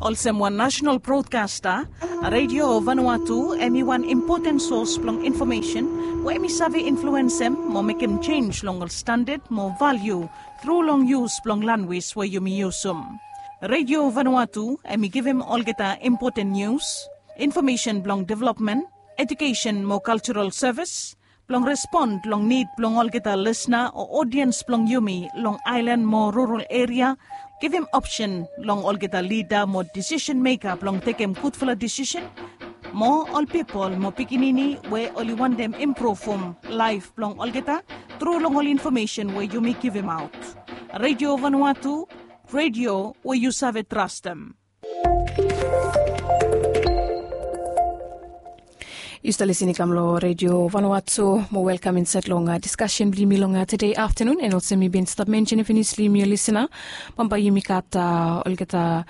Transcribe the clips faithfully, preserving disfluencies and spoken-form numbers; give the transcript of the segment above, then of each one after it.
Olsem wan nasenal brodkasta, Redio Vanuatu em i wan impoten sos blong infomesen we em i save influensem mo mekem jenis long ol standad mo valiu tru long yus blong lanwis we yumi yusum. Redio Vanuatu em i givim olgeta impoten nius, infomesen blong developmen, ejukesen mo kaljaral sevis, blong respon long nid blong olgeta lisna o odiens blong yumi long aelan mo rural eria, givim opsen long olgeta lida mo disisen meka blong tekem gudfala disisen, mo ol pipol mo pikinini we oli wantem impruvum laef blong olgeta tru long ol infomesen we yumi givimaot. Redio Vanuatu, redio we yu save trastem. Yu stap lisin i kam long Redio Vanuatu. Mo welkam insaed long diskasen blong yumi long tede aftanun. An olsem mi bin stap mensenem finis long yumi ol lisina, bambae yumi gat olgeta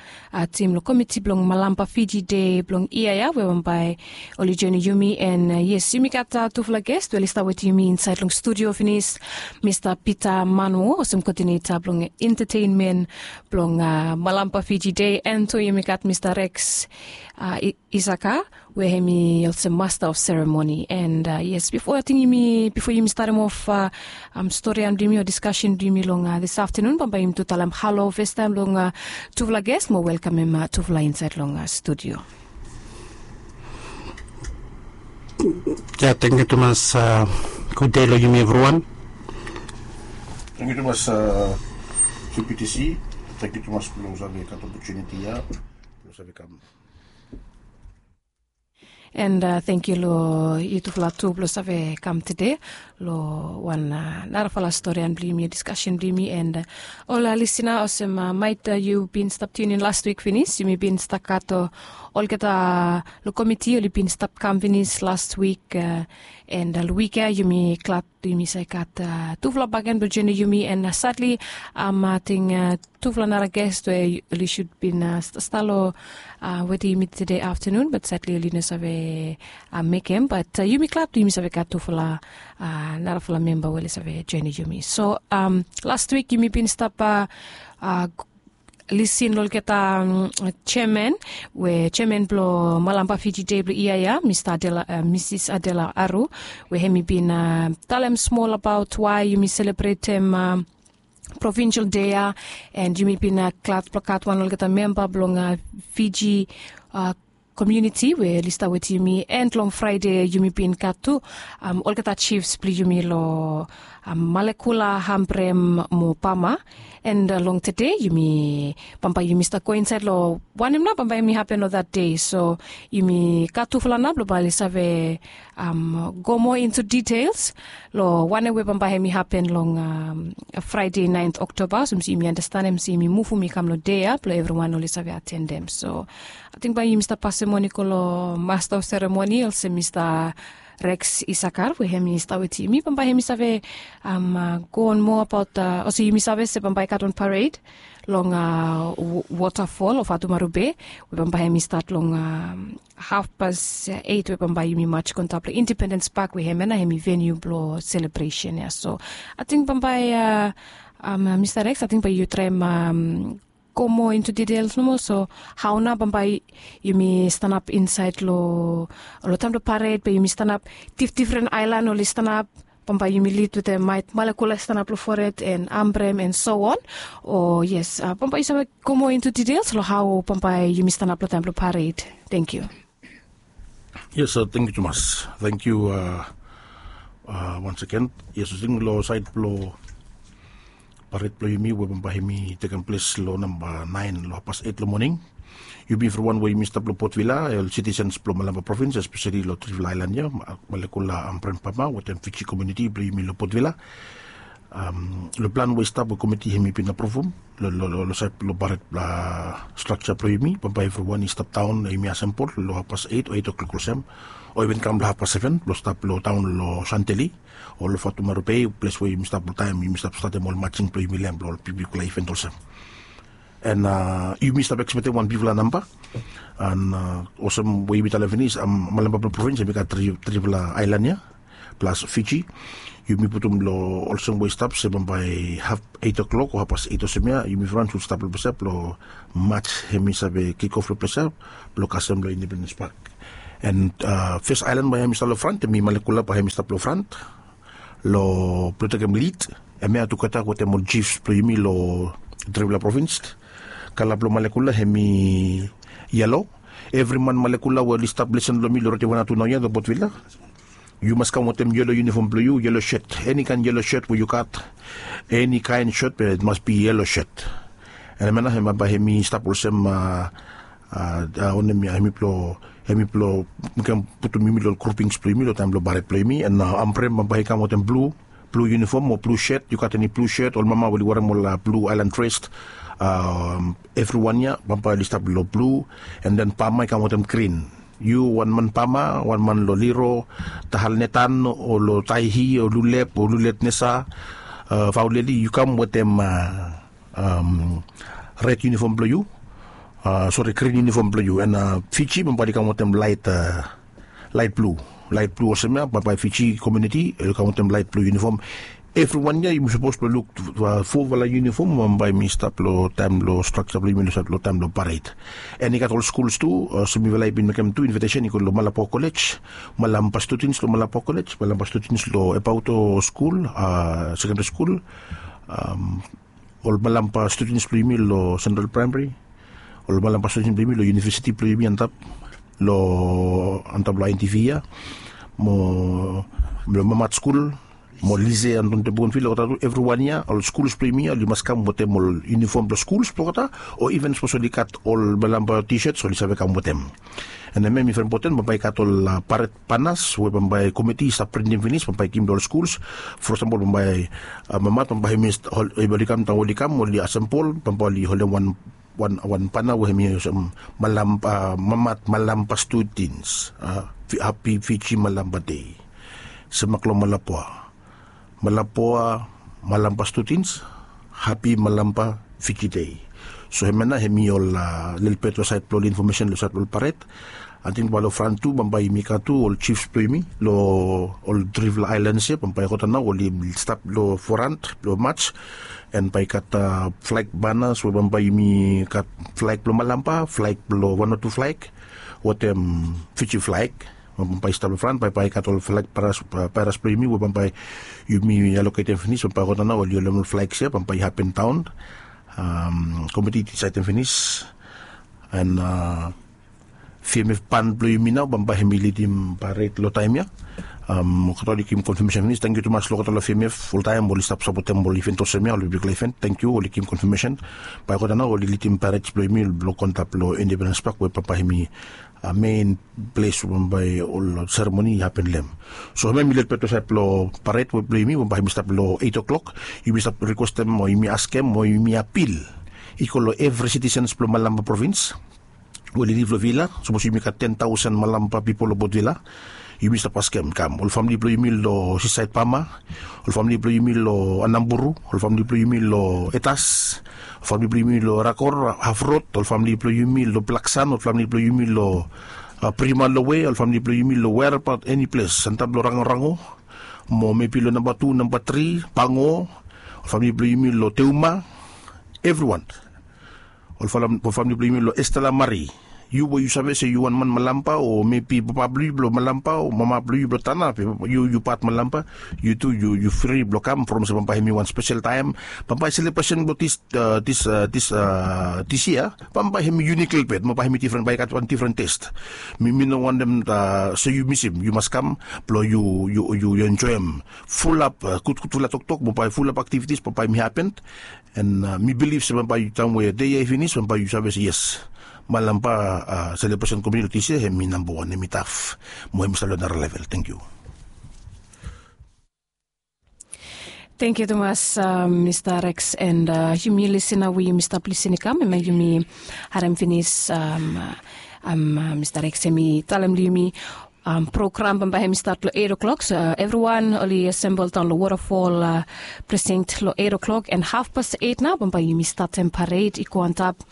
tim long komiti blong Malampa Fiji Dei blong yia ya we bambae oli joenem yumi. An yes, yumi gat tufala ges we oli stap wetem yumi insaed long studio finis, Mista Pita Manuo olsem koodineta blong entetenmen blong Malampa Fiji Dei, an tu yumi gat Mista Reks Isaka we hem i olsem masta of seremoni. An yes, bifo ating yumi bifo yumi statem of storian blong yumi o diskasen blong yumi long dis aftanun, bambae yumi tu talem halo fastaem long tufala ges mo welkamem tufala insaed long studio. Ya, tangkiu tumas. Gud dei long yumi evriwan. Tangkiu tumas. Tangkiu tumas blong save gat opotuniti ya blong save kam. An tangkiu long yutufala tu blong save kam tede long wan narafala storian blong yumi, diskasen blong yumi. An ol lisina, olsem maet yu bin stap tiunin last wik finis, yumi bin stap gat olgeta long komiti oli bin stap kam finis last wik. An long wik ya yumi glad yumi save gat tufala bakegen blong joenem yumi. An sadli ating tufala nara ges we oli sud bin stap long wetem yumi tede aftanun, bat sadli oli no save mekem. Bat yumi glad yumi save gat tufala narafala memba we oli save joenem yumi. So last wik yumi bin stap lisin long olgeta jeaman we jeaman blong Malampa Fiji Dei blong yia ya, Mista Adela, Misis Adela Aru, we hem i bin talem smol abaot wae yumi selebretem provinsel dei ya. An yumi bin glad blong gat wan olgeta memba blong Fiji komuniti we oli stap wetem yumi. An long Fraede yumi bin gat tu olgeta jifs blong yumi long Malekula, Hambrem mo Pama. An long tede yumi bambae yumi stap go insaed long wanem nao bambae hem i hapen long that dei. So yumi gat tufala nao blong bae oli save go moa into details long wanem we bambae hem i hapen long Fraede naent Oktoba. So yumi anastenem se yumi muvum i kam long dei ya blong evriwan oli save atendem. So ating bae yumi stap pasem moni go long masta of seremoni olsem Mista Reks Isakar we hem i stap wetem yumi, bambae hem i save go on moa abaot olsem yumi save se bambae i gat wan pared long wotafol of Atumaru Bei, we bambae hem i stat long hafpas eit we bambae yumi maj go antap long Independens Pak we hem ya nao hem i veniu blong selebresen ya. So ating bambae Mista Reks, ating bae yu traem go moa into details nomo. So hao nao bambae yumi stanap insaed long taem blong pared, bae yumi stanap, difdifren aelan oli stanap, bambae yumi lid wetem maet Malekula i stanap long fored an Hambrem an so on. O yes, bambae yu save go moa into details long hao bambae yumi stanap long taem blong pared. Tangkiu. Yes, tangkiu tumas. Tangkiu. Once again, yes, ating long saed blong pared blong yumi we bambae hem i tekem ples long namba naen long hafpas eit long moning, yumi evriwan we yumi stap long Port Vila, ol sitisens blong Malampa Provins, espeseli long trifala aelan ya, Malekula, Hambrem, Pama wetem Fiji komuniti blong yumi long Port Vila. Long plan we i stap we komiti hem i bin apruvum long saed blong pared strakja blong yumi, bambae evriwan i stap daon, yumi asembol long hafpas eit o eit oklok olsem, o iven kam long hafpas seven blong stap long taon long Santeli o long Atumaru Bei, ples we yumi stap long taem yumi stap statem ol majing blong yumi long hem blong ol bigbigfala iven olsem. An yumi stap ekspektem wan bigfala namba. An olsem we yumi talem finis, Malampa blong provins hem i gat trifala aelan ya. plas Fiji. Yumi putum long olsem we i stap se bambae haf eit o'klok o hafpas eit olsem ya yumi frans wi stap long ples ya blong mats hemi save kik of long ples ya blong kasem long Independens Pak. And fes aelan bae hemi stap long frant hemi Malekula bae hemi stap long frant long blong tekem lid. Hemia tugeta wetem ol jifs blong yumi long tripela provins. Kala blong Malekula hemi yelo. Evri man Malekula we oli stap lesen long mi long redio wan na tu naoia long Port Vila, yu mas kam wetem yelo yunifom blong yu, yelo shet, eni kaen yelo shet we yu gat. Eni kaen shet be it mas bi yelo shet. And hemia nao hemia bae hemi stap olsem a a wanem ya hemi blong hemi blong mekem putum yumi long ol grupings blong yumi long taem blong paret blong yumi. And a ambrem bambae i kam wetem blu blu yunifom o blu shet, yu gat eni blu shet, ol mama we oli werem ol a blu aelan dres. Evriwan ya bambae oli stap long blu. And then pama i kam wetem grin. Yu wan man pama, wan man long liro, tahal netan o long taihi o lulep o lulet nesa, fauleli yu kam wetem red yunifom blong yu, sori, grin yunifom blong yu. And Fiji bambae oli kam wetem laet laet blu. Laet blu olsem ya bambae Fiji komuniti oli kam wetem laet blu yunifom. Evriwan ya yumi sapos blong luk fofala yunifom bambae mi stap long taem long straksa blong yumi long sait long taem blong paret. And i gat ol skuls tu olsem mifala i bin mekem tu invitesen i go long Malapua Kolej. Malampa studens long Malapua Kolej, Malampa studens long Ebauto skul, sekendri skul, ol Malampa studens blong yumi long Sentral Praemari, ol Malampa studens blong yumi long yunivesiti blong yumi antap long antap long INTV ya, mo long Mamat skul, mo Lise Anton de Bougainville, olgeta tu evriwan ya ol skuls blong yumi ya oli mas kam wetem ol yunifom blong skuls blong olgeta, o iven sapos oli gat ol Malampa T-shirts oli save kam wetem. And hemia mi fren poten bambae i gat ol paret banas we bambae komiti i stap printim finis bambae i givim long ol skuls. For eksempel bambae mamat bambae hemi oli kam taem we oli kam oli asempol bambae oli holem wan wan wan bana we hemi olsem malampa mamat malampa studens, hapi Fiji malampa dei. Semak long Malapua, Malapua malampa studens, hapi malampa Fiji dei. So hemia nao hemi ol lelebet long sait blong ol infomesen long sait blong ol paret. Ating bae long fran tu bambae yumi gat tu ol jifs blong yumi long ol trifala aelans ya bambae olgeta nao oli stap long forant blong mats. And bae i gat flaeg banas we bambae yumi gat flaeg blong Malampa, flaeg blong wan o tu flaeg wetem Fiji flaeg. Bambae i stap long fran bae bae i gat ol flaeg paeras blong yumi we bambae yumi aloketem finis bambae olgeta nao oli holem ol flaegs ya bambae i hapen daon. Komiti i disaitem finis. And vmf ban blong yumi nao bambae hemi lidim paret long taem ya. Olgeta oli givim konfamesen finis, tangkiu tumas long olgeta long vmf oltaem oli stap sapotem ol iven olsem ya, ol bigfala iven, tangkiu, oli givim konfamesen. Bae olgeta nao oli lidim paret blong yumi long go antap long Independens Pak we bambae hemi mein ples we bambae ol seremoni i hapen long hem. So hemia hemi lelebet long sait blong paret we blong yumi bambae hemi stap long eit o'klok. Yumi stap rikwestem o yumi askem o yumi apil i go long evri sitisens blong Malampa provins we oli liv long Vila. Sapos yumi gat ten taosen Malampa pipol long Port Vila, yumi stap askem i kam ol famili blong yumi long Sisaed Pama, ol famili blong yumi long Anamburu, ol famili blong yumi long Etas, ol famili blong yumi long Rakor, Hafrod, ol famili blong yumi long Blaksan, ol famili blong yumi long Prima Lowe, ol famili blong yumi long wereabaot eni ples antap long Rangorango, mo mebi long namba tu, namba tri, Pango, ol famili blong yumi long Teuma, evriwan. Ol famili blong yumi long Estela Mari, yu we yu save se yu wan man Malampa o mebi papa blong yu blong Malampa o mama blong yu blong Tana, yu yu pat Malampa, yu tu yu fri blong kam from se bambae hemi wan spesel taem. Bambae selebresen blong dis dis dis yia bambae hemi yunik lelebet, bambae hemi difren, bae i gat wan difren tes. Mi mi no wantem se yu misim, yu mas kam blong yu yu yu enjoem fulap gudgudfala toktok, bambae fulap aktivitis bambae hemi hapen. And mi bilif se bambae taem we dei ya i finis bambae yu save se yes, Malampa selebresen komiti long dis yia hemi nambawan, hemi taf, mo hemi stap long nara level. Tangkiu. Tangkiu tumas, Mista Rex, and yumi lisin nao we yumi stap lisin i kam hemia yumi harem finis Mista Rex hemi talem long yumi Program bambae hem i stat long eight o'clock, so evriwan oli asembol daon long Waterfall precinct long eight o'clock, and hafpas eight nao bambae yumi statem pared i go antap.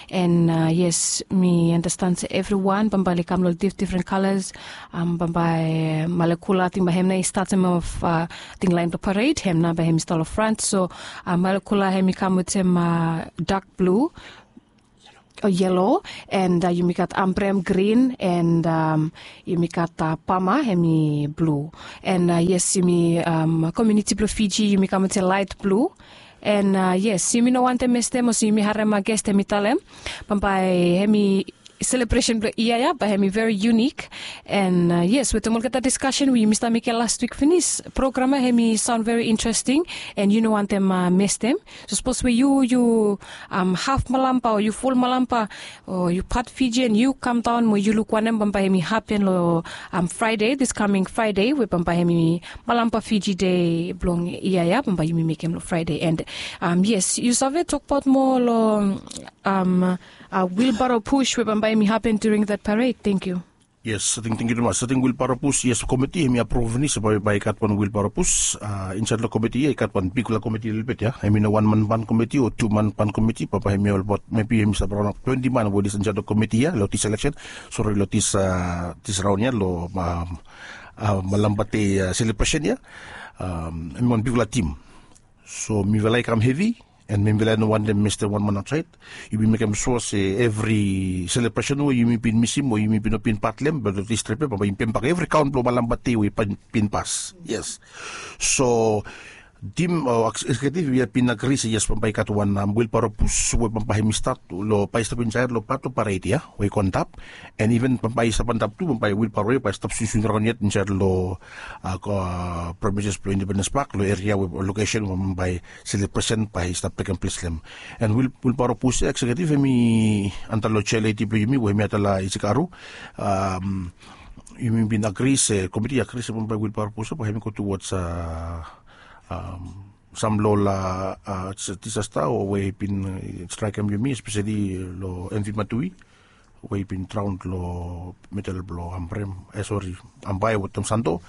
And yes, mi andastan se evriwan bambae oli kam long difdifren kalas. Bambae Malekula, ating bae hem nao i statem of ating laen blong pared, hem nao bae hem i stat long frant. So Malekula hem i kam wetem dak blu o yelo, and yumi gat Ambrem grin, and yumi gat Pama hem i blu. And yes, yumi komiuniti blong Fiji yumi kam wetem laet blu. And yes, yumi no wantem mestem olsem yumi harem ges hem i talem bambae hem i selebresen blong yia ya bae hem i veri yunik. And yes, wetem olgeta diskasen we yumi stap mekem las wik finis, program ya hem i saon veri interesting, and yu no wantem mestem. So sapos we yu yu haf Malampa o yu ful Malampa o yu pat Fijian, yu kamdaon mo yu luk wanem bambae hem i hapen long Fraede, this coming Fraede we bambae hem i Malampa Fiji Dei blong yia ya bambae yumi mekem long Fraede. And yes, yu save tokbaot moa long wilbaro pus we bambae hem i hapen during that parade? Tangkiu. Yes, ating, tangkiu tumas. Ating wilbaro pus, yes, komiti hem i apruv finis bae i gat wan wilbaro pus. Insaed long komiti ya i gat wan bigfala komiti lelebet ya. Hem i no wan man pan komiti o tu man pan komiti, bambae hem i olbaot mebi hem i stap raon twenti man we oli insaed long komiti ya long this eleksen, sori, long this raon ya long Malampa Dei selebresen ya. Hem i wan bigfala tim. So mifala i kam hevi, and mifala i no wantem mestem wan man aotsaed. Yumi mekem sua se evri selebresen we yumi bin misim o yumi bin no bin pat long hem, be long this trip ya bambae yumi pembak evri kaon blong Malampa Dei we i bin pas. Yes. So tim o ekseketiv ya bin agri se yes, bambae i gat wan wilbaro pus we bambae hem i stat long, bae i stap insaed long pat blong pared ya we i go antap. And iven bambae i stap antap tu, bambae wilbaro ya bae i stap swiswim raon yet insaed long premises blong Independens Pak, long eria we, lokesen we bambae selebresen bae i stap tekem ples long hem. And wilbaro pus ya, ekseketiv hem i anda long chair ledi blong yumi we hem i Adela Isikaru. Yumi bin agri se, komiti i agri se bambae wilbaro pus ya bae hem i go tuwods sam long ol disasta we i bin straekem yumi, espeseli long M V Matui we i bin draon long medel blong Ambrem, e sori, Ambae wetem Santo,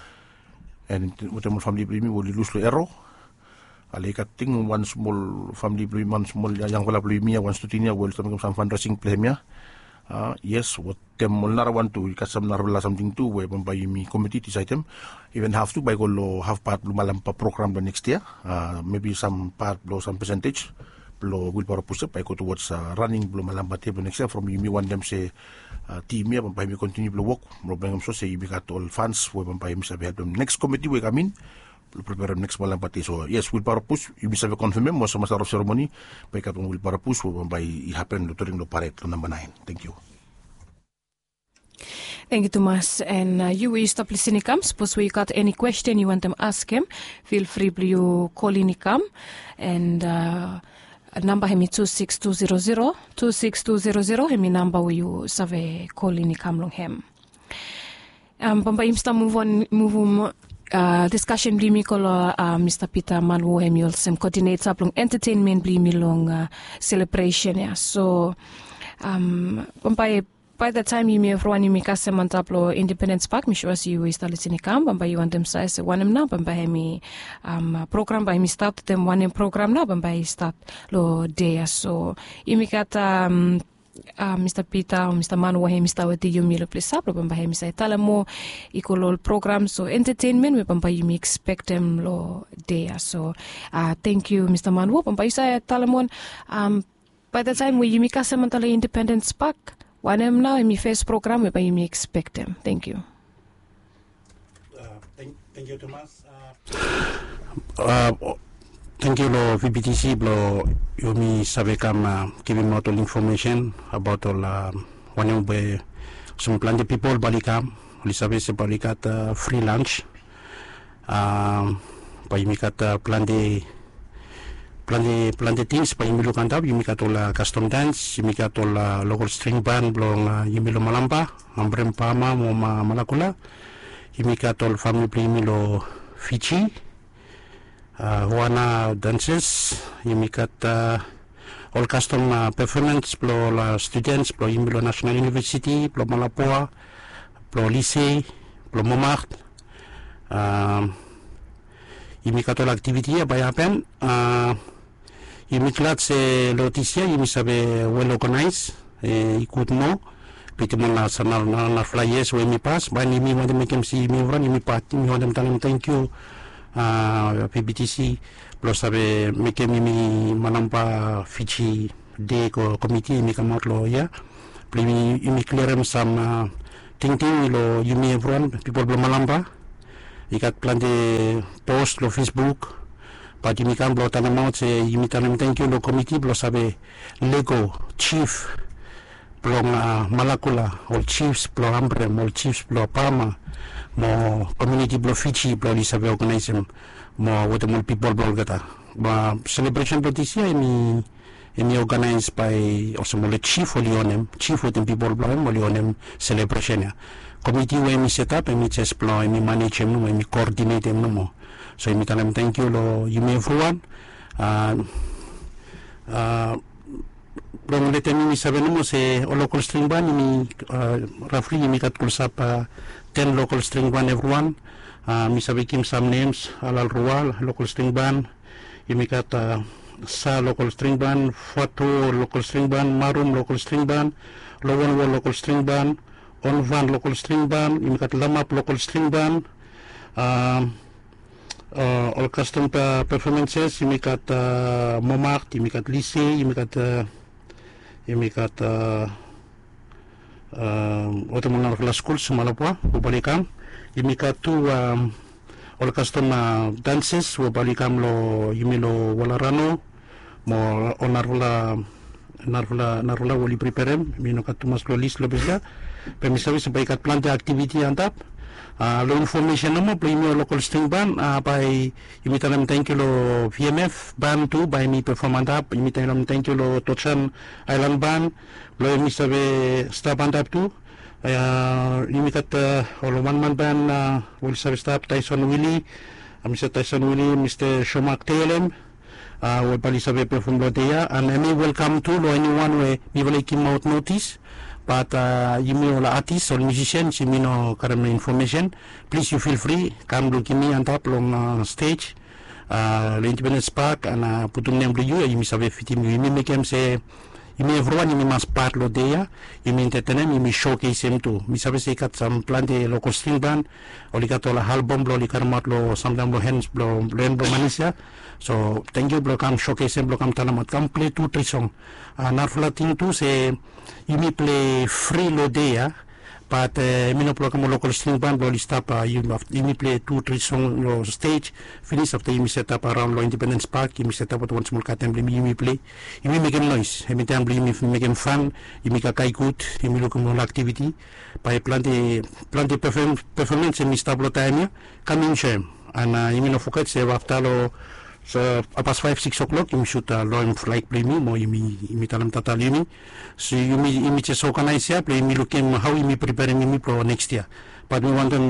and wetem ol famili blong yumi we oli lus long ero. Ale i gat ting wan smol famili blong yumi, wan smol yangfala blong yumi ya, wan student ya we oli stap mekem sam fundraising blong hem ya. Yes, wetem ol narawan tu, i gat sam narafala samting tu we bambae yumi komiti i disaedem. Iven haf tu bae i go long haf pat blong Malampa program blong next yia. Mebi sam pat blong sam pesentej blong wilbaro pus ya bae i go tuwods raning blong Malampa Dei blong next yia, from yumi wantem se tim ya bambae hem i kontiniu blong wok blong mekem sua se yumi gat ol fans we bambae yumi save helpem neks komiti we i kam in blong preperem neks Malampa Dei. So yes, wilbaro pus, yumi save konfemem olsem master of seremoni, bae i gat wan wilbaro pus we bambae i hapen long during long pared long namba naen. Tangkiu. Tangkiu tumas. And yu we yu stap lisin i kam, sapos we yu gat eni kwesten yu wantem askem, fil fri blong yu kolin i kam. And namba hem i tu sikis tu zero zero, tu sikis tu zero zero hem i namba we yu save kolin i kam long hem. Bambae yumi stap muvon, muvum diskasen blong yumi go long Mista Pita Manwo, hem i olsem kodineta blong entetenmen blong yumi long selebresen ya. So bambae bae da taem yumi evriwan yumi kasem antap long Independens Pak, mi sua se yu we yu stap lisin i kam, bambae yu wantem save se wanem nao bambae hem i program bae hem i stat, wetem wanem program nao bambae i stat long dei ya. So yumi gat Mista Pita o Mista Manwo hem i stap wetem yumi long ples ya blong bambae hem i save talem moa i go long ol program o entetenmen we bambae yumi ekspektem long dei ya. So tangkiu Mista Manwo, bambae yu save talem moa bae da taem we yumi kasem antap long Independens Pak, wanem nao hem i fes program we bae yumi ekspektem? Tangkiu. Tangkiu tumas. Tangkiu long V B T C blong yumi save kam givimaot ol infomesen abaot ol wanem we olsem plante pipol bae oli kam, oli save se bae oli gat fri lans. Bae yumi gat plante, plante, plante tings bae yumi luk antap. Yumi gat ol kastom dans, yumi gat ol lokal string ban blong yumi long Malampa, Ambrem, Pama mo Malakula. Yumi gat ol famili blong yumi long Fiji, Hoana danses. Yumi gat ol kastom pefomans blong ol studens blong yumi long Nasenal Univesiti blong Malapua, blong Lise, blong Montmartre. Yumi gat ol aktiviti ya bae i hapen. Yumi glad se long dis yia yumi save wel oganaes. I gud moa bitim ol narafala yias we yumi pas. Bae yumi wantem mekem se yumi evriwan yumi pat, yumi wantem talem tangkiu, pbtc, blong save mekem yumi manamba Fiji Day komiti yumi kamaot long yia blong yumi klirim sam tingting long yumi evriwan pipol blong Malampa. I gat plante post long Facebook, bat yumi kam blong talemaot se yumi talem tangkiu long komiti blong save lego jif blong Malakula, ol jifs blong Ambrem, ol jifs blong Pama, mo komiuniti blong Fiji blong oli save oganaesem mo wetem ol pipol blong olgeta. Selebresen blong dis yia em i oganaes bae olsem ol jif oli onem, jif wetem pipol blong hem oli onem selebresen ya. Komiti we em i setap em i jes blong em i manejem nomo, em i koodinetem nomo. So yumi talem tangkiu long yumi evriwan. Blong letem yumi save nomo se ol lokol string ban yumi rafli yumi gat klosap ten lokol string ban evriwan. Mi save givim sam nems, Alal Rual lokol string ban, yumi gat Sa lokol string ban, Fato lokol string ban, Marum lokol string ban, Lowanwo lokol string ban, Onvan lokol string ban, yumi gat Lamap lokol string ban. Ol kastom perfomenses yumi gat Momart, yumi gat Lise, yumi gat yumi gat wetem ol narafala skul Sumalapua we bae oli kam. Yumi gat tu ol kastom danses we bae oli kam long yumi long Walarano mo ol narafala narafala we oli priperem. Mi no gat tumas long lis long ples ya, be mi save se bae i gat plante aktiviti antap. Long infomesen nomo blong yumi ol lokol string ban, bae yumi talem tangkiu long VMF ban tu bae yumi pefom antap. Yumi talem tangkiu long Tojan Aelan ban blong yumi save stap antap tu. Yumi gat ol wanman ban we oli save stap, Taison Wili, Mista Taison Wili, Mista Shomak Telem, we bae oli save pefom long dei ya. An hemi welkam tu long eniwan we mifala i givimaot notis. Bat yumi ol atis, ol miusisians, yumi no karem infomesen. Plis yu fil fri kam luk yumi antap long stej long Independens Pak an putum nem blong yu ya yumi save fitim yu. Yumi mekem se yumi evriwan yumi mas pat long dei ya. Yumi entetenem, yumi showcasem tu. Mi save se i gat sam plante lokol string ban oli gat ol albom blong oli karemaot long samtaem long hen blong Manis ya. So tangkiu blong kam showcasem, blong kam talemaot, kam pilei tu tri song. Narafala ting tu se yumi pilei fri long dei ya, bat yumi no pilai kam ol lokol string ban blong oli stap. Yumi pilei tu tri song long stej. Finis afta yumi setap araon long Independens Pak, yumi setap wetem wan smol katen blong yumi, yumi pilei, yumi mekem noes. Hemi taem blong yumi mekem fan, yumi kakae gud, yumi lukim ol aktiviti. Bae plante plante pefomens hemi stap long taem ya. Kam enjoem. An yumi no foget se afta long So hapas faef sikis oklok yumi sut loem flag blong yumi mo yumi talem tata long yumi. So yumi jes oganaes ya blong yumi lukim hao yumi priperem yumi blong neks yia. Bat mi wantem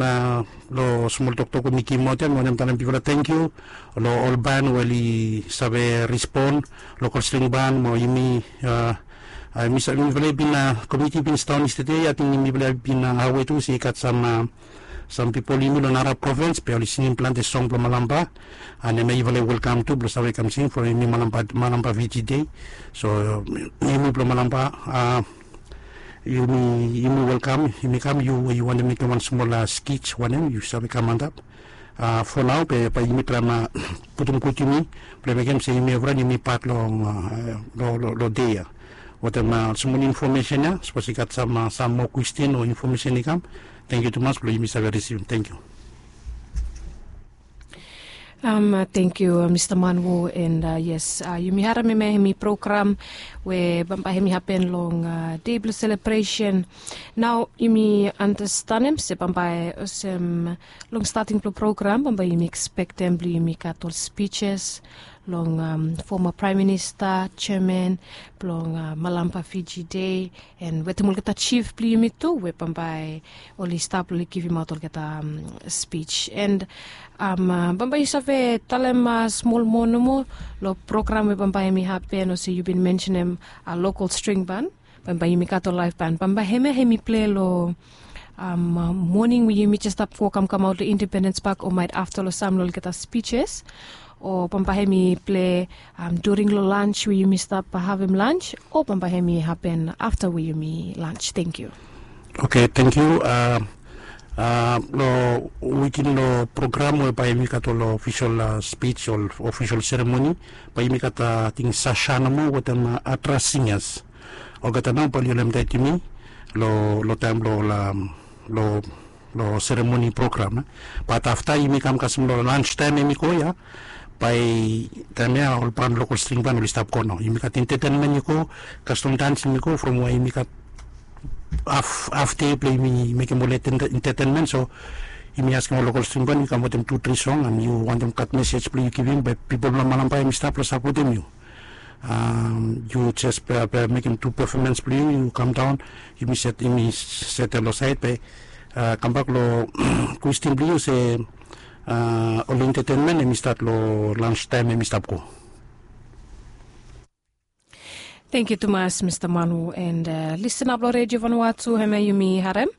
long smol toktok we mi givimaot ya mi wantem talem bigfala tangkiu long ol ban we oli save respon, lokol string ban mo yumi. Mifala i bin komiti i bin sidaon yestede ya, ating mifala i bin awe tu se i gat sam sam pipol yumi long nara provins be oli singim plante song blong Malampa. An hemia yufala i welkam tu blong save kam sing from yumi Malampa Fiji Dei. So yumi blong Malampa, yumi welkam, yumi kam, yu we yu wantem mekem wan smol skij wanem yu save kam antap. Fo nao be bae yumi traem putum gud yumi blong mekem se yumi evriwan yumi pat long dei ya. Wetem smol infomesen ya, sapos i gat sam moa kwestin o infomesen i kam, tangkiu tumas blong yumi save risivim. Tangkiu. Tangkiu Mista Manwo. And yes, yumi harem hemia hemi program we bambae hemi hapen long dei blong selebresen. Nao yumi anastenem se bambae olsem long stating blong program bambae yumi ekspektem blong yumi gat ol spijis long foma praem minista, jeaman blong Malampa Fiji Dei, and wetem olgeta jif blong yumi tu we bambae oli stap long oli givimaot olgeta spij. And bambae yu save talem smol moa nomo long program we bambae hemi hapen olsem yu bin mensenem lokol string ban. Bambae yumi gat ol laef ban bambae hemia hemi pilei long moning we yumi jes stap go kamkamaot long Independens Pak, o maet afta long sam long olgeta spijes, o bambae hem i ple during long lans we yumi stap havim lans, o bambae hem i hapen afta we yumi lans. Tangkiu. Oke, tangkiu. Long wikin long program we bae yumi gat ol ofisol spij, ol ofisol seremoni, bae yumi gat ating Sasha nomo wetem Atras Singas. Olgeta nao bae oli helpem taet yumi long taem long long seremoni program. Bat afta yumi kam kasem long lans taem hem i go ya, bae taem ya ol ban lokol string ban oli stap go nao. Yumi gat entetenmen i go, kastom dans hem i go, from we yumi gat haf dei blong yumi mekem ol entetenmen. So yumi askem ol lokol string ban i kam wetem tu tri song, and yu wantem gat mesej blong yu givim bae pipol blong Malampa hem i stap long sapotem yu. Yu jes mekem tu pefomens blong yu, yu kam daon, yumi set, yumi setem long saed bae kambak long kwestin blong yu se ol entetenmen hem i stat long lans taem hem i stap go. Tangkiu tumas Mista Manu, and listenap long Redio Vanuatu, hemia yumi harem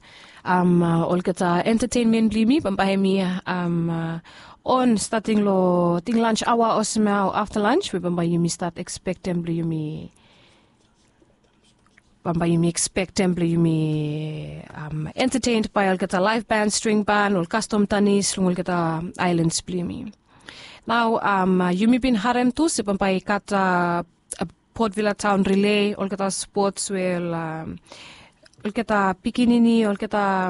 olgeta entetenmen blong yumi bambae hem i on stating long ting lans aoa olsem ya o afta lans we bambae yumi stat ekspektem blong yumi bambae yumi ekspektem blong yumi entetened bae olgeta laef ban, string ban, ol kastom tanis long olgeta aelans blong yumi. Nao yumi bin harem tu se bambae i gat Port Vila Taon Rile, olgeta spots we ol olgeta pikinini, olgeta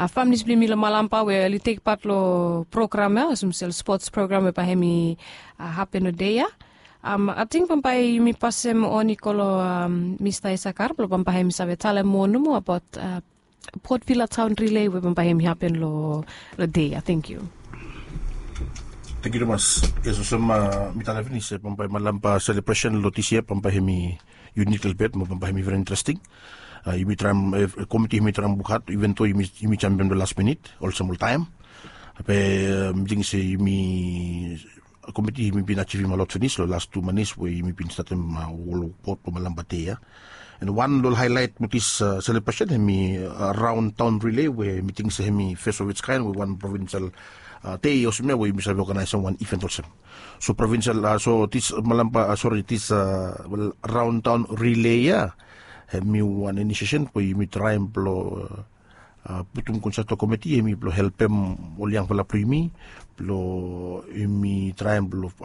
familis blong yumi long Malampa we oli tek pat long program ya, olsem se ol spots program we bae hem i hapen long dei ya. Ating bambae yumi pasem on i go long Mista Isakar blong bambae hem i save talem moa nomo abaot Port Vila Taon Rile we bambae hem i hapen long dei ya. Tangkiu. Tangkiu tumas. Yes, olsem mi talem finis se bambae Malampa selebresen long dis yia bambae hem i unik lelebet mo bambae hem i veri interesting. Yumi traem, komiti hem i traem wok had, iven do yumi jamem long las minit olsem oltaem. Be mi ting se yumi komiti yumi bin ajivim a lot finis long las tu manis we yumi bin statem ol wok blong Malampa dei ya. And wan long haelaet blong dis selebresen hem i raon taon rile we mi ting se hem i fes of its kaen we wan provinsel dei olsem ya we yumi save oganaesem wan iven olsem. So provinsel, so dis Malampa, sori, dis raon taon rile ya hem i wan inisiesen we yumi traem blong putum konsepto komiti hem i blong helpem ol yangfala blong yumi blong yumi traem blong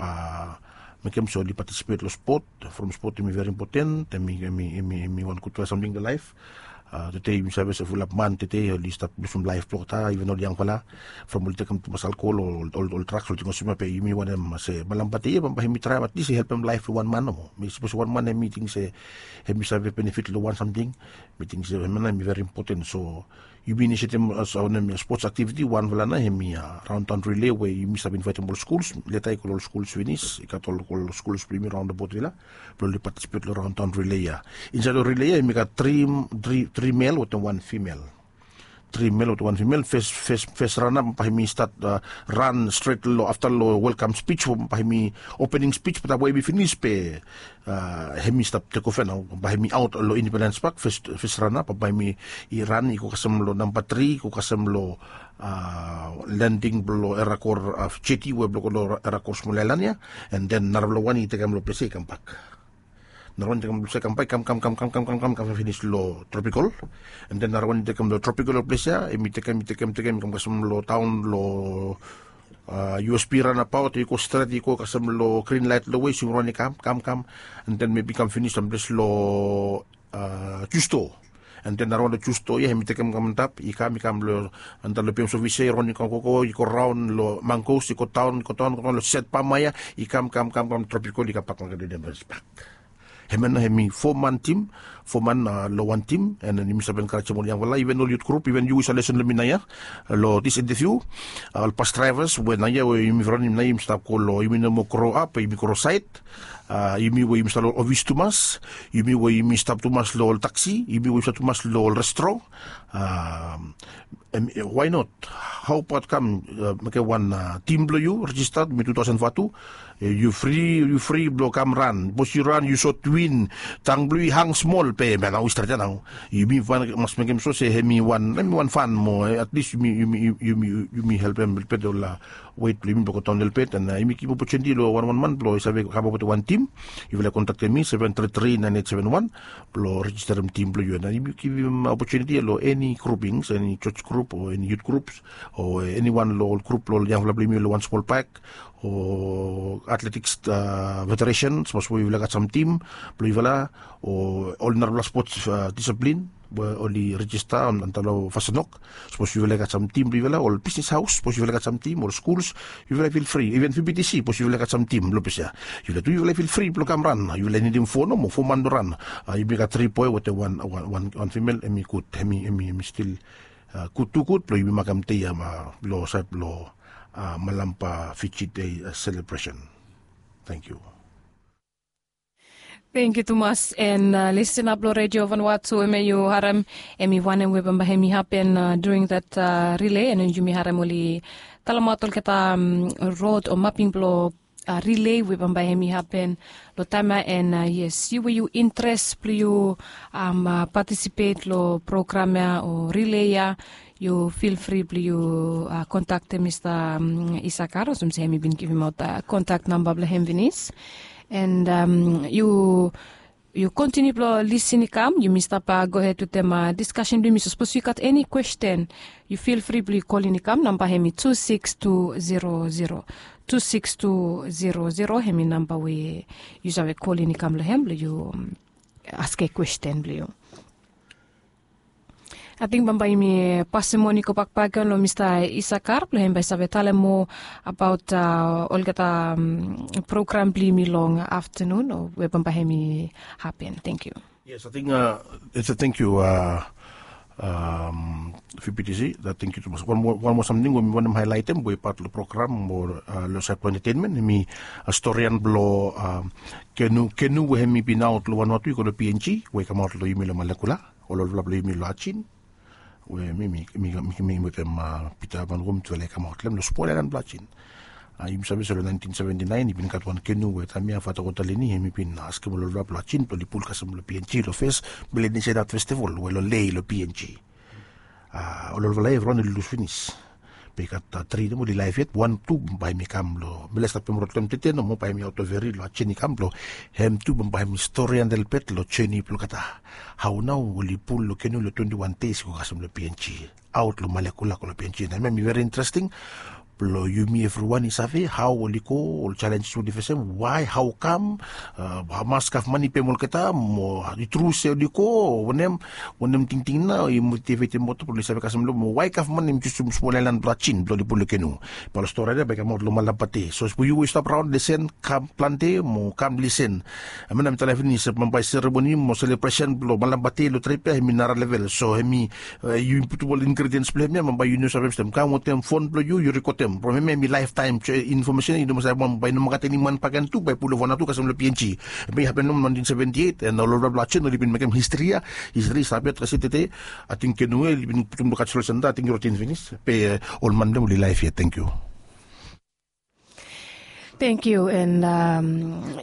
mekem se oli patisipet long spot. From spot hem i veri impoten, hem i wan gudfala samting long laef. Tede yumi save se fulap man tede oli stap lusum laef blong olgeta, iven ol yangfala, from oli tekem tumas alkohol o ol draks, ol ting olsem ya. Be yumi wantem se Malampa dei ya bambae hem i traem atlis i helpem laef blong wan man nomo. Mi sapos wan man hem i ting se hem i save benefit long wan samting, mi ting se hemia nao hem i veri impoten. So yumi inisiatem as wanem ya, spots aktiviti, wanfala nao hem i raon taon rile we yumi save invaetem ol skuls. Leta i go long ol skuls finis, i gat ol skuls blong yumi raon long Port Vila blong oli patisipet long raon taon rile ya. Insaed long rile ya hem i gat tri mel wetem wan fimel. Tri mel wetem wan fimel. Fes rana bambae hem i stat ran stret long afta long welkam spij, bambae hem i opening spij, be taem we hem i finis be hem i stap tek ova nao. Bambae hem i aot long Independens Pak, fes rana bambae hem i ran i go kasem long namba tri, i go kasem long lending blong Erakor jeti we blong go long Erakor smol aelan ya. And then narafala wan i tekem long ples ya i kambak. Narawan i tekem long ples ya i kambak, i kam kam kam kam kam kam kam kam finis long Tropikol. And then narawan i tekem long Tropikol long ples ya, hem i tekem, i tekem, tekem i kam kasem long taon long U S P ranabaot, i go stret, i go kasem long grin laet long we i swing raon i kam kam kam. And then mebi i kam finis long ples long Justo. And then narawan long Justo ya hem i tekem kam antap, i kam, i kam long antap long P M Service ya, i raon i kam gogo, i go raon long Mangos, i go daon, i go daon, go daon long Set Pama ya, i kam kam kam kam Tropikol, i kambak long Independens Pak. Hemia nao hem i fo man tim, fo man long wan tim. And then yumi save enkarejem ol yangfala, iven ol yut grup, iven yu we yu save lesen long mi naoia long dis inteviu, ol bas draevas we naoia we yumi raonem naoia, yumi stap go long, yumi no moa gro ap, yumi gro saed. Yumi we yumi stap long ol ofis tumas, yumi we yumi stap tumas long ol taksi, yumi we yumi stap tumas long ol restro. Why not? Hau abaot kam mekem wan tim blong yu rejista, mi tu taosen vatu. Yu fri, yu fri blong kam ran. Sapos yu ran yu sot win, tang blong yu i hang smol be hemia nao i stret ya nao. Yumi mas mekem so se hemi wan, hemi wan fan mo at least yumi, yumi, yumi helpem helpet ol wet blong yumi blong go daon helpet. And yumi givim opotuniti long wan wan man blong i save kam abaot wan tim. Yufala i kontaktem mi seven three three nine eight seven one blong rejisterem tim blong yu. And yumi givim opotuniti ya long eni grupings, eni jos grup o eni yut grups o eni wan long ol grup blong ol yangfala blong yumi long wan smol pak o atletiks federesen, sapos we yufala gat sam tim blong yufala o ol narafala spots disaplin we oli rejista antap long Fasenok. Sapos yufala i gat sam tim blong yufala, ol bisnis haos, sapos yufala i gat sam tim, ol skuls, yufala i fil fri. Iven V B T C, sapos yufala i gat sam tim long ples ya, yufala tu yufala i fil fri blong kam ran. Yufala i nidim fo nomo, fo man blong ran. Yumi gat tri boe wetem wan, wan fimel, hemi gud, hemi, hemi stil gud, tu gud blong yumi makem dei ya blong saed blong Malampa Fiji Dei selebresen. Tangkiu. Tangkiu tumas. And listenap long Redio Vanuatu, hemia yu harem, hemi wanem we bambae hemi hapen during that relay. And yumi harem oli talemaot olgeta rod o maping blong relay we bambae hemi hapen long taem ya. And yes, yu we yu interes blong yu patisipet long program ya o relay ya, yu fil fri blong yu kontaktem Mista Isakar olsem se hemi bin givimaot kontak namba blong hem finis. And yu, yu kontiniu blong lisin i kam, yumi stap gohed wetem diskasen blong yumi. So sapos yu gat eni kwesten, yu fil fri blong yu kolin i kam. Namba hemi tu sikis tu zero zero, tu sikis tu zero zero, hemi namba we yu save kolin i kam long hem blong yu askem kwesten blong yu. Ating bambae yumi pasem moni gobak bakegen long Mista Isakar blong hem bae i save talem moa abaot olgeta program blong yumi long aftanun o we bambae hemi hapen. Tangkiu. Yes, ating, tangkiu. V B T C, tangkiu tumas. Wan moa, wan moa samting we mi wantem haelaetem we i pat long program mo long saed blong entetenmen, hemi storian blong kenu, kenu we hemi bin aot long Vanuatu i go long P N G we i kamaot long yumi long Malekula. Ol olfala blong yumi long Ajin we mi, mi, mi, mi wetem Pita Van Wom tufala i kamaot long hem long smol aelan blong Ajin. Yumi save se long naentin seventi naen i bin gat wan kenu we taem ya Fata Kotalini hemi bin askem ol olfala blong Ajin blong oli pul kasem long P N G long fes Melanesian Art Festival we long Lae long P N G. Ol olfala ya evriwan oli lus finis. Be i gat tri nomo oli laef yet, wan tu bae hemi kam long, mi laik stap pem rod long hem tede nomo, bae hemi aot long feri long Ajin i kam blong hem tu bambae hemi storian helpet long jeni blong olgeta. Hao nao oli pul long kenu long twenti wan deis i go kasem long P N G, aot long Malekula go long P N G. Na hemia hemi veri interesting blong yumi evriwan i save hao oli go, ol jalenjes we oli fesem, wae, hao kam, hamas gavman i pem olgeta, mo i tru se oli go o wanem, wanem tingting nao i motivetem olgeta blong oli save kasem long hem, mo wae gavman hemi jusum smol aelan blong Ajin blong oli pul long kenu. Bae ol storian ya bae i kamaot long Malampa Dei. So sapos yu we yu stap raon, lisen, kam plante mo kam lisen. Hemia nao mi talem finis se bambae seremoni mo selebresen blong Malampa Dei long trip ya hemi nara level. So hemi, yu putum ol ingrediens blong hemia, bambae yu no save mistem. Kam wetem fon blong yu, yu rekodem. From hemia hemi laeftaem infomesen ya, yu no mas save, bambae i no mas gat eni man bakegen tu bae i pul long Vanuatu kasem long P N G. Hemia i hapen long naentin seventi eit, and ol olfala blong Ajin oli bin mekem histri ya. Histri i stap yet kasem tede. Ating kenu ya oli bin putum long kaljeral senta, ating i roten finis. Be ol man blong hem oli laef yet. Tangkiu. Tangkiu. And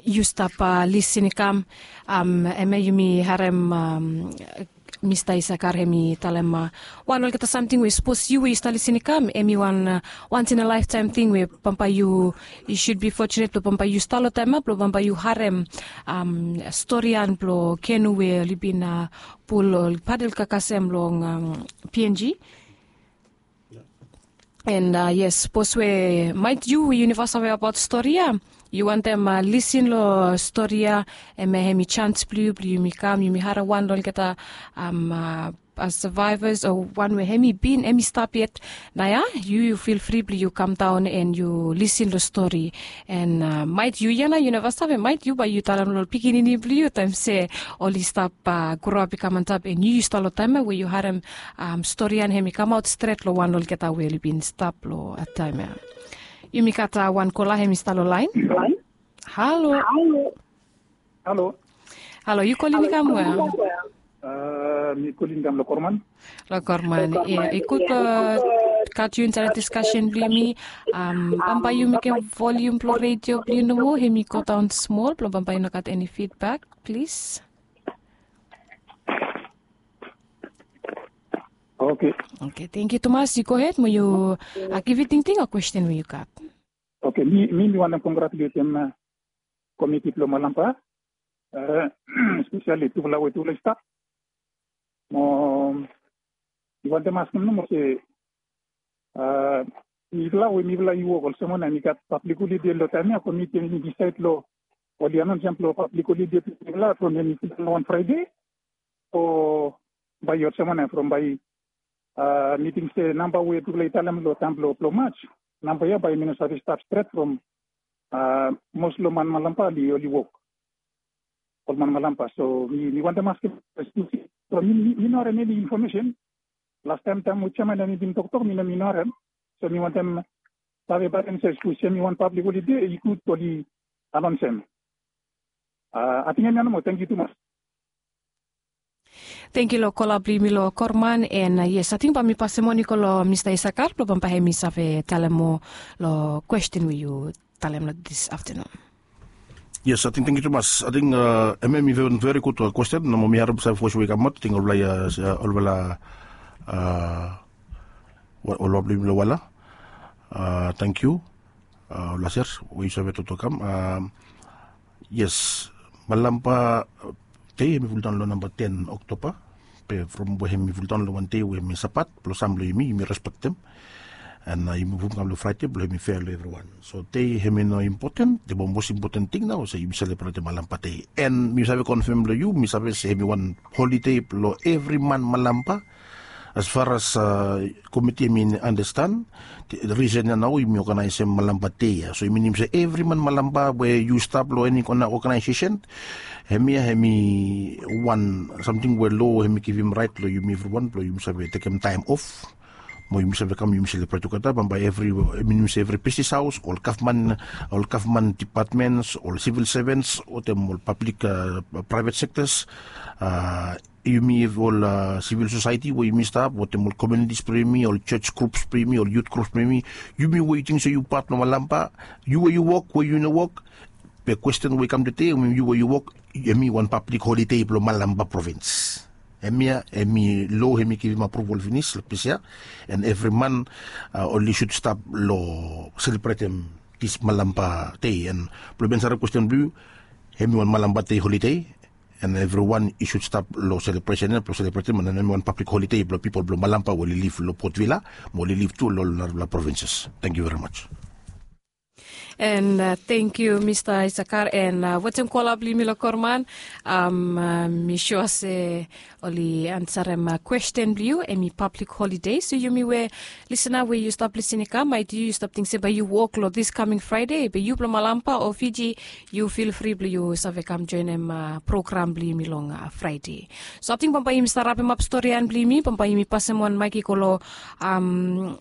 yu stap lisin i kam, hemia yumi harem Mista Isakar hemi talem wan olgeta samting we sapos yu we yu stap lisin i kam, hemi wan once in a lifetime ting we bambae yu, yu should be fortunate blong bambae yu stap long taem ya blong bambae yu harem storian blong kenu we oli bin pul, ol padel kakasem long P N G. And yes, sapos we maet yu we yu neva save abaot stori ya, yu wantem lisin long stori ya, hemia hemi jans blong yu blong yumi kam yumi harem wan long olgeta savaevas o wan we hemi bin, hemi stap yet. Nao ya yu, yu fil fri blong yu kamdaon and yu lisin long stori. And maet yu ya nao yu neva save, maet yu bae yu talem long ol pikinini blong yu taem se oli stap groap i kam antap, and yu yu stap long taem ya we yu harem storian hemi kamaot stret long wan long olgeta we oli bin stap long taem ya. Yumi gat wan kola hemi stap long laen. Halo. Halo. Halo. Halo, yu kolin i kam we? A, mi kolin i kam lo Korman. Lo Korman, ia, i gud lo gat yu insaed lo diskasen blo yumi. Am, bambae yu mekem volium blo redio blo yu nomo, hemi godaon smol, blo bambae yu no gat eni fidbak, plis. Oke. Oke, tangkiu tumas. Yu gohed mo yu, a, givim tingting o kwesten we yu gat. Oke, mi, mi, mi wantem kongratuletem, a, komiti blo Malampa, a, espeseli tufala we tufala i stap. Mo mi wantem askem nomo se, a, mifala we mifala i wok olsem wanem, i gat pablik holide lo taem ya, komiti hemi disaed lo oli anaonsem lo pablik holide blo mifala from hemi fulap lo wan Fraede, o bae olsem wanem from bae, a, mi ting se namba we tufala i talem lo taem blo, blo Maj, namba ya bae hemi no save stap stret from, a, mos lo man Malampa oli, oli wok. Ol man Malampa. So mi, mi wantem askem, so mi, mi, mi no harem eni infomesen. Lastaem taem we jeaman hemi bin toktok, mi no, mi no harem. So mi wantem save bae hemsel se hemi wan pablik holide, i gud oli anaonsem. A, ating hemia nomo, tangkiu tumas. Tangkiu lo kola blo yumi lo Korman, and, a, yes, ating bae mi pasem on i go lo Mista Isakar blo bambae hemi save talem moa lo kwesten we yu talem lo dis aftenun. Yes, ating, tangkiu tumas. Ating, a, hemia hemi veri, veri gud, a, kwesten, nomo mi harem sam voes we i kamaot, ating olfala, a, olfala, a, olfala blo yumi lo wala. A, tangkiu. A, olfala sers we yu save toktok kam. A, yes, Malampa Dei hemi fuldaon lo namba ten Oktoba, be from we hemi fuldaon lo wan dei we hemi Sabat blo sam blo yumi, yumi respektem. And, a, yumi muv kam lo Fraede blo hemi fea lo evriwan. So dei hemi no impoten, the most important thing nao se yumi selebretem Malampa Dei. And mi save konfem lo yu, mi save se hemi wan holide blo evri man Malampa. As far as, a, komiti hemi anastan, risen ya nao yumi oganaesem Malampa Dei ya. So i minim se evri man Malampa we yu stap lo eni kona oganaesesen, hemia hemi wan samting we lo hemi givim raet lo yumi evriwan blo yumi save tekem taem of mo yumi save kam yumi selebret tugeta. Bambae evri, i minim se evri bisnis haos, ol gavman, ol gavman dipatmens, ol sivil sevens, wetem ol pablik, a, praevet sektas, a, yumi ol, a, sivil sosaeti we yumi stap, wetem ol komunitis blo yumi, ol jos grups blo yumi, ol yut grups blo yumi, yumi we yu ting se yu pat blo Malampa, yu we yu wok, we yu no wok, be kwesten we i kam tede, yu we yu wok, hemi wan pablik holide blo Malampa provins. Hemia, hemi lo hemi givim apruval finis lo ples ya, and evri man, a, oli sud stap lo selebretem dis Malampa Dei, and blo mi ansarem kwesten blo yu, hemi wan Malampa Dei holide, and evriwan i sud stap lo selebresen ya, blo selebretem, and hemi wan pablik holide blo pipol blo Malampa we oli liv lo Port Vila, mo oli liv tu lo ol narafala provinses. Tangkiu verimaj. And, a, tangkiu Mista Isakar, and, a, wetem kola blo yumi lo Korman, am, a, mi sua se oli ansarem, a, kwesten blo yu, hemi pablik holide. So yumi we lisena we yu stap lisin i kam, maet yu, yu stap ting se bae yu wok lo dis kaming Fraede, be yu blo Malampa o Fiji, yu fil fri blo yu save kam joenem, a, program blo yumi long, a, Fraede. So ating bambae yumi stap rapemap storian blo yumi, bambae yumi pasem wan maek i go lo, am,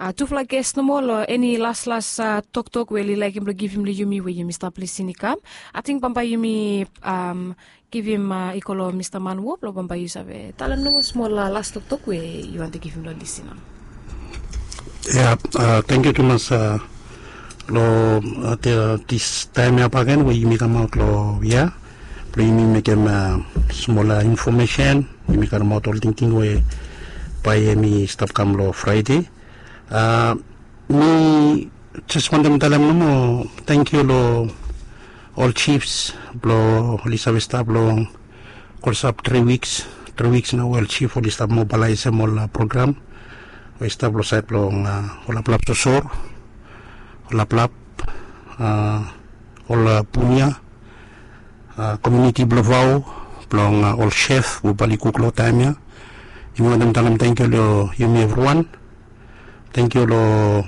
a, tufala ges nomo lo eni laslas, a, toktok we oli laekem blo givim lo yumi we yumi stap lisin i kam. Ating bambae yumi, am, givim, a, i go lo Mista Manwo blo bambae yu save talem nomo smol, a, las toktok we yu wantem givim lo lisena. Ia, a, tangkiu tumas, a, lo, a, dis taem ya bakegen we yumi kamaot lo ia blo yumi mekem, a, smol, a, infomesen, yumi karemaot ol tingting we bae hemi stap kam lo Fraede. A, mi jes wantem talem nomo tangkiu lo ol jifs blo oli save stap long klosap tri wiks, tri wiks nao ol jif oli stap mobalaesem ol, a, program we i stap lo saed blong, a, ol laplap sosor, ol laplap, a, ol, a, punia, a, komuniti blo vao, blong, a, ol sef we bae oli kuk lo taem ya. Yumi wantem talem tangkiu lo yumi evriwan. Tangkiu lo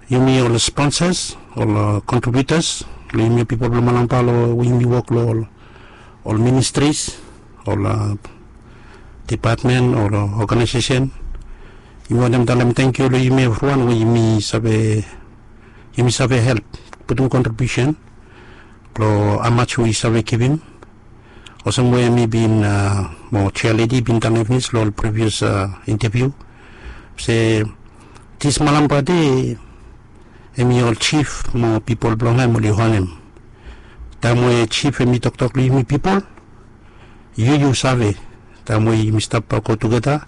yumi ol sponsas, ol, a, kontribiutas, lo yumi pipol blo Malampa lo we yumi wok lo ol, ol ministris, ol, a, dipatmen, ol, a, oganaesesen. Yumi wantem talem tangkiu lo yumi evriwan we yumi save, yumi save help putum kontribiusen long amaj we yu save givim. Olsem we mi bin mo chair lady bin talem finis long ol previous interview se dis malam bade em i ol chief mo pipol blong hem oli honem. Taem we chief em i toktok long yumi pipol, yu yu save, taem we yumi stap go tugeta,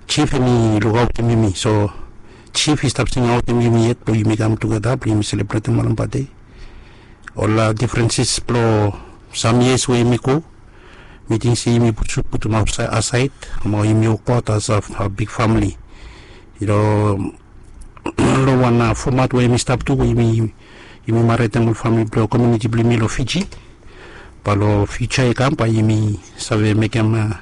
chief em i lukaotem yumi. So chief i stap singaotem yumi yet blong yumi kam tugeta blong yumi selebretem malam bade. Ol difrenses blong sam yias we yumi go, mi ting se yumi sud putum asaed mo yumi wokbaot as a big famili. Long wan fomat we yumi stap tu we yumi maritim ol famili blong komuniti blong yumi long Fiji. Bae long fiuja i kam bae yumi save mekem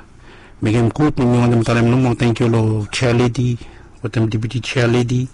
mekem gud. Mi wantem talem nomo tangkiu long chair lady wetem deputi chair lady.